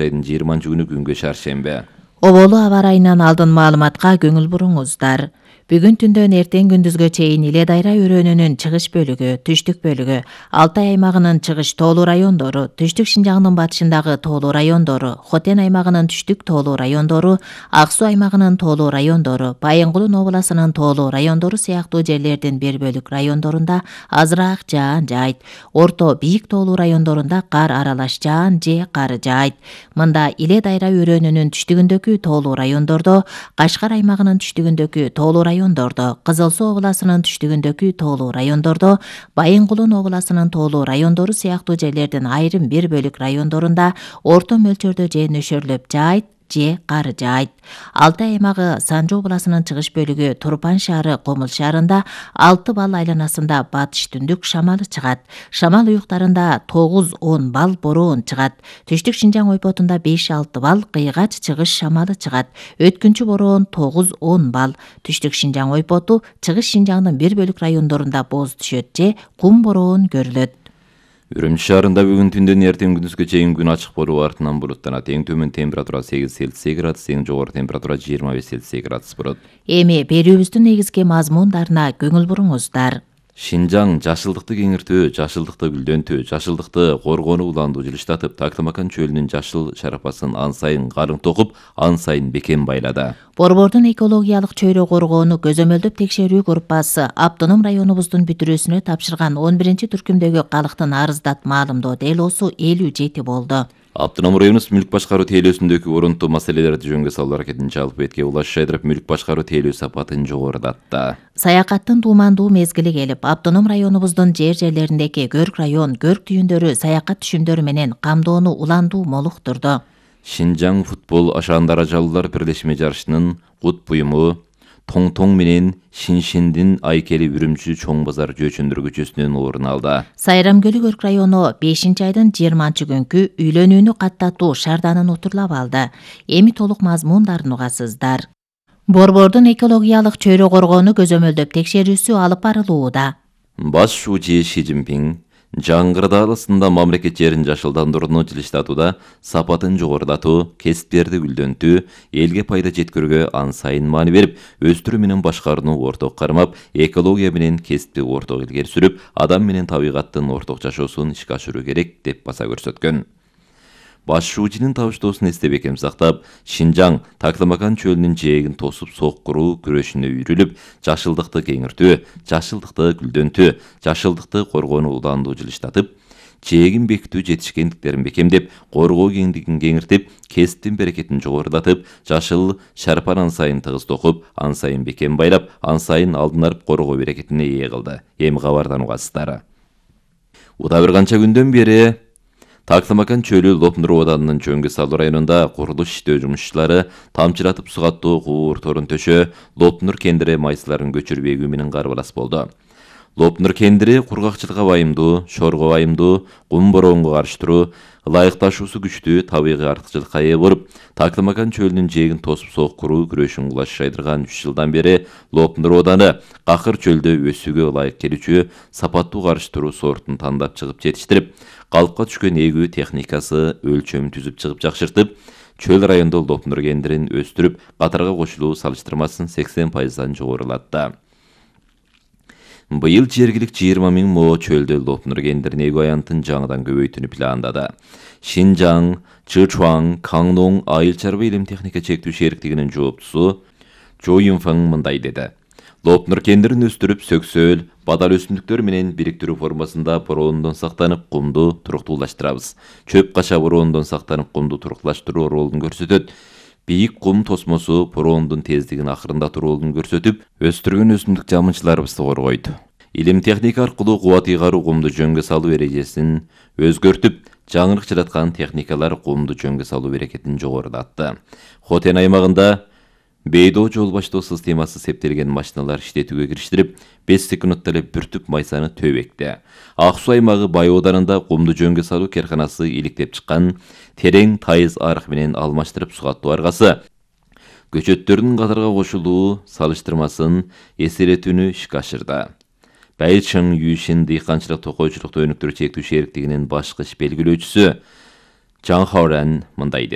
айдын 20-күнү күнгө шаршембе. Оболу аба ырайынан алдын маалыматка көңүл буруңуздар. Бүгүн түндөн эртең күндүзгө чейин Иле Дайра өрөөнүнүн чыгыш бөлүгү, түштүк бөлүгү, Алтай аймагынын чыгыш тоолуу райондору, түштүк Шинжаңдын батышындагы тоолуу райондору, Хотен аймагынын түштүк тоолуу райондору, Ак Суу аймагынын тоолуу райондору, Байынгулун областынын тоолуу райондору сыяктуу жерлердин бир бөлүк райондорунда азыраак жаан жаайт. Орто бийик тоолуу райондорунда кар аралаш жаан же кар жаайт. Мында Иле Дайра өрөөнүнүн түштүгүндөгү тоолуу райондордо, Кашкар аймагынын түштүгүндөгү тоолуу райондордо, Кызыл Суу областынын түштүгүндөгү тоолуу райондордо, Байынгулун областынын тоолуу райондору сыяктуу жерлердин айрым бир бөлүк райондорунда орто мөлчөрдө же нөшөрлөп жаайт же кар жаайт. Алтай аймагы Санжы областынын чыгыш бөлүгү Турпан шаары Комул шаарында 6 балл айланасында батыш түндүк шамалы чыгат. Шамал уюктарында 9-10 балл бороон чыгат. Түштүк Шинжаң ойпотунда 5-6 балл кыйгач чыгыш шамалы чыгат. Өткүнчү бороон 9-10 балл. Түштүк Шинжаң ойпоту чыгыш Шинжаңдын бир бөлүк райондорунда боз түшөт же кум бороон көрүлөт. Үрүмчү шаарында бүгүн түндөн эртең күндүзгө чейин күн ачык болуп артынан булуттанат. Эң төмөн температура 8 Цельсий градус, эң жогору температура 25 Цельсий градус болот. Эми берүүбүздүн негизги мазмундарына көңүл буруңуздар. Шинжаң жашылдыкты кеңиртүү, жашылдыкты гүлдөнтүү, жашылдыкты коргоону уланду жылыштатып, Таклымакан чөлүнүн жашыл шарапасын ан сайын карың токуп, ан сайын бекем байлады. Борбордун экологиялык чөйрө коргоону көзөмөлдөп текшерүү группасы автоном районубуздун бүтүрүүсүнө тапшырган 11-түркүмдөгү калктын арыздат маалымдоо делосу 57 болду. Автоном районубуз мүлк башкаруу тейлөөсүндөгү орунтуу маселелерди жөнгө салуу аракетин жалпы бетке улаш жайдырып, мүлк башкаруу тейлөө сапатын жогорулатты. Саякаттын туумандуу мезгили келип, автоном районубуздун жерлериндеги көрк район, көрк түйүндөрү саякат түшүмдөрү менен камдоону уландуу молуктурду. Шинжаң футбол ашаандар ажалуулар бирлешме жарышынын кут буюму Тоң менен Шиншиндин айкели Үрүмчү Чоң базар жөөчөндөр көчөсүнөн орун алды. Сайрамкөлү көрк району 5-айдын 20-күнкү үйлөнүүнү каттатуу шаарданын утурлап алды. Эми толук мазмундарын угасыздар. Борбордун экологиялык чөйрө коргоону көзөмөлдөп текшерүүсү алып барылууда. Баш шүүчү Ши Цзиньпин жаңгыр дaalысында мамлекет жерин жашылдандырууну жылыштатууда сапатын жогорулатуу, кесиптерди гүлдөнтүү, элге пайда жеткөрүүгө ан сайын маани берип, өстүрүү менен башкарууну орток кармап, экология менен кесипти орток илгери сүрүп, адам менен табигаттын орток жашоосун ишке ашыруу керек деп баса көрсөткөн. Баш шүүчүнүн табыштоосун эсте бекем сактап, Шинжаң Таклымакан чөлүнүн жээгин тосуп соккуруу күрөшүнө үйрүлүп, жашылдыкты кеңиртүү, жашылдыкты гүлдөнтүү, жашылдыкты коргоону уландуу жылыштатып, жээгин бекитүү жетишкендиктерин бекемдеп, коргоо кеңдигин кеңиртип, кесиптин берекетин жогорулатып, жашыл шарпан ан сайын тыгыз токуп, ан сайын бекем байлап, ан сайын алдын алып коргоо берекетине ээ кылды. Эми кабардан угасыздар. Уда бир канча күндөн бери Таклымакан чөлү Лопнур абаданынын Чөңгө салуу районунда курулуш иштөө жумушчулары тамчылатып сугаттуу куурторун төшөө, Лопнур кендири майсыларын көчүрбөгү менен карбалас болду. Лопнур кендири кургакчылыкка байымдуу, шорго байымдуу, кум бороонго каршы туруу, ылайыкташуусу күчтүү табигый артыкчылыкка ээ болуп, Таклымакан чөлүнүн жээгин тосуп соккуруу күрөшүн кулаш жайдырган 3 жылдан бери Лопнур абаданы какыр чөлдө өсүүгө ылайык келүүчү сапаттуу каршы туруу сортун тандап чыгып жетиштирип, калпка түшкөн эгүү техникасы өлчөмүн түзүп чыгып жакшыртып, чөл райондо Лопнур кендирин өстүрүп, катарга кошулуу салыштырмасын 80% жогорулатты. Быйыл жергилик 20 000 мо чөлдө Лопнур кендирин эгүү аянтын жаңыдан көбөйтүүнү пландады. Шинжаң, Чычуан, Каңнон айыл чарба илим техника чектүү шериктигинин жооптусу Чо Юнфаң мындай деди. Лопнур кендирин өстүрүп, сөксөөл, бадал өсүмдүктөр менен бириктирүү формасында бороондон сактанып, кумду туруктуулаштырабыз. Чөп кача бороондон сактанып, кумду туруктуулаштыруу ролун көрсөтөт. Бийик кум тосмосу бороондун тездигин акырындатуу ролун көрсөтүп, өстүргөн өсүмдүк жамынчыларыбызды коргойт. Илим техника аркылуу кубат ыйгаруу кумду жөнгө салуу эрежесин өзгөртүп, жаңырык жараткан техникалар кумду жөнгө салуу берекетин жогорулатты. Хотен аймагында бейдоо жол баштоо системасы септелген машиналар иштетүүгө кириштирип, 5 секундта эле бір түп майсаны төбекти. Ак Суу аймагы Бай ауданында кумду жөнгө салуу керканасы иликтеп чыккан, терең тайыз арык менен алмаштырып сугаттуу аргасы көчөттөрдүн катарга кошулуу салыштырмасын эсеретүүнү ишке ашырды. Байчың Юшин дыйканчылык токойчулукту өнүктүрүү чектүү шериктигинин башкы иш белгилөөчүсү Чаң Хаорен мындай